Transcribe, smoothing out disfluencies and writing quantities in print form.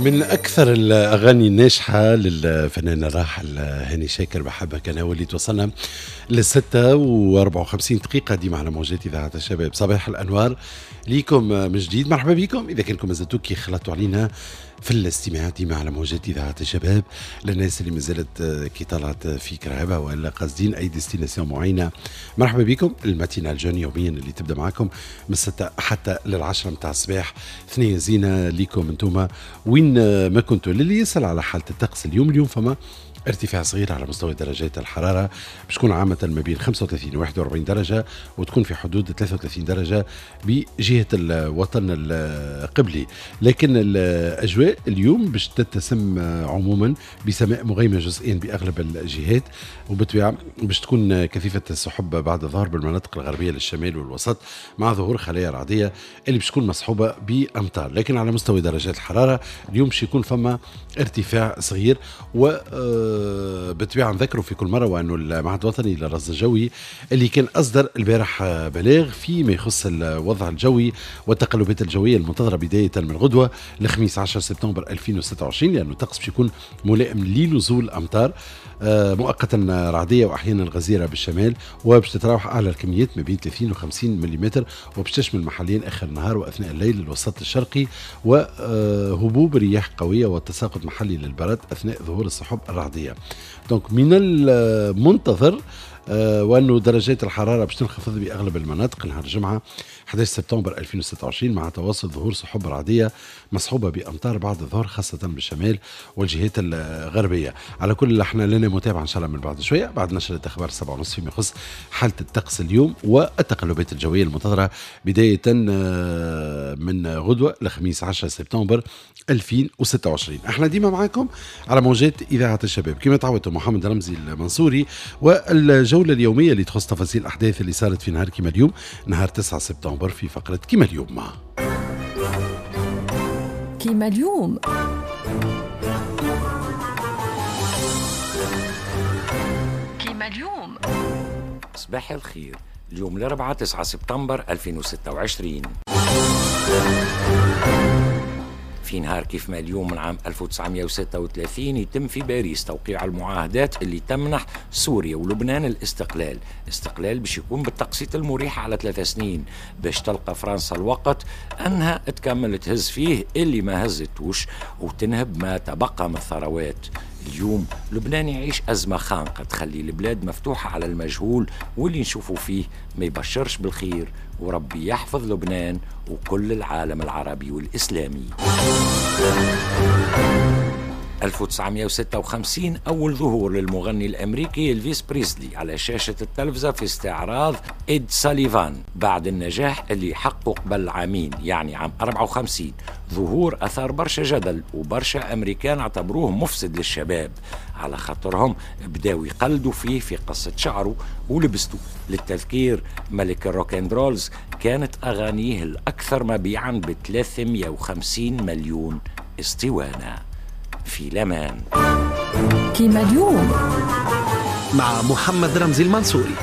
من أكثر الأغاني الناجحة للفنان الراحل هاني شاكر بحبك أنا، واللي توصلنا ل6:54 ديما على موجات إذاعة الشباب. صباح الأنوار ليكم من جديد، مرحبا بكم إذا كنكم مازلتوا كي خلطتوا علينا في الاستماع ديما على موجات إذاعة الشباب. للناس اللي مازالت كي طلعت في كرهبة ولا قاصدين أي destination معينة، مرحبا بكم. ال matinale jeune يوميا اللي تبدا معكم من 6 حتى لل10 متاع الصباح، ثنية زينة ليكم انتوما وين ما كنتوا. للي يسأل على حالة الطقس اليوم، اليوم فما ارتفاع صغير على مستوى درجات الحرارة، باش تكون عامة ما بين 35 و 41 درجة، وتكون في حدود 33 درجة بجهة الوطن القبلي. لكن الأجواء اليوم باش تتسم عموما بسماء مغيمة جزئيا بأغلب الجهات، وبالطبيعة باش تكون كثيفة السحب بعد الظهر بالمناطق الغربية للشمال والوسط، مع ظهور خلايا رعدية اللي باش تكون مصحوبة بأمطار. لكن على مستوى درجات الحرارة اليوم باش يكون فما ارتفاع صغير، و بالطبيعة نذكروا في كل مرة وأنه المعهد الوطني للرصد الجوي اللي كان أصدر البارح بلاغ فيما يخص الوضع الجوي والتقلبات الجوية المنتظرة بداية من غدوة الخميس 10 سبتمبر 2026، لأنه الطقس باش يكون ملائم لنزول أمطار مؤقتا رعدية وأحيانا غزيرة بالشمال، وباش تتراوح أعلى الكميات ما بين 30 و 50 ملم، وباش تشمل محليا آخر النهار وأثناء الليل الوسط الشرقي، وهبوب رياح قوية وتساقط محلي للبرد أثناء ظهور السحب الرعدية. donc من المنتظر وأنه درجات الحرارة باش تنخفض بأغلب المناطق نهار الجمعة 11 سبتمبر 2026، مع تواصل ظهور سحب رعدية مصحوبة بأمطار بعد الظهر خاصة بالشمال والجهات الغربية. على كل احنا لنا متابعة إن شاء الله من بعد شوية بعد نشرة أخبار 7:30 فيما يخص حالة الطقس اليوم والتقلبات الجوية المنتظرة بداية من غدوة الخميس 10 سبتمبر 2026. احنا ديما معاكم على موجات إذاعة الشباب كما تعودتم، محمد رمزي المنصوري والجولة اليومية اللي تخص تفاصيل الأحداث اللي صارت في نهار كما اليوم، نهار 9 سبتمبر، في فقرة كما اليوم. كما اليوم كما اليوم. صباح الخير. اليوم الأربعاء 9 سبتمبر 2026. في نهار كيف ما اليوم من عام 1936 يتم في باريس توقيع المعاهدات اللي تمنح سوريا ولبنان الاستقلال. استقلال باش يكون بالتقسيط المريح على 3 سنين، باش تلقى فرنسا الوقت أنها تكمل تهز فيه اللي ما هزتوش وتنهب ما تبقى من الثروات. اليوم لبنان يعيش أزمة خانقة تخلي البلاد مفتوحة على المجهول، واللي نشوفه فيه ما يبشرش بالخير، وربي يحفظ لبنان وكل العالم العربي والإسلامي. 1956 أول ظهور للمغني الأمريكي إلفيس بريسلي على شاشة التلفزة في استعراض إد ساليفان بعد النجاح اللي حقه قبل عامين، يعني عام 54. ظهور أثار برشا جدل وبرشا أمريكان اعتبروه مفسد للشباب، على خاطرهم بداوا يقلدوا فيه في قصة شعره ولبسته. للتذكير، ملك ال rock and rolls كانت أغانيه الأكثر مبيعا ب 350 مليون اسطوانة. في لمان كما اليوم مع محمد رمزي المنصوري.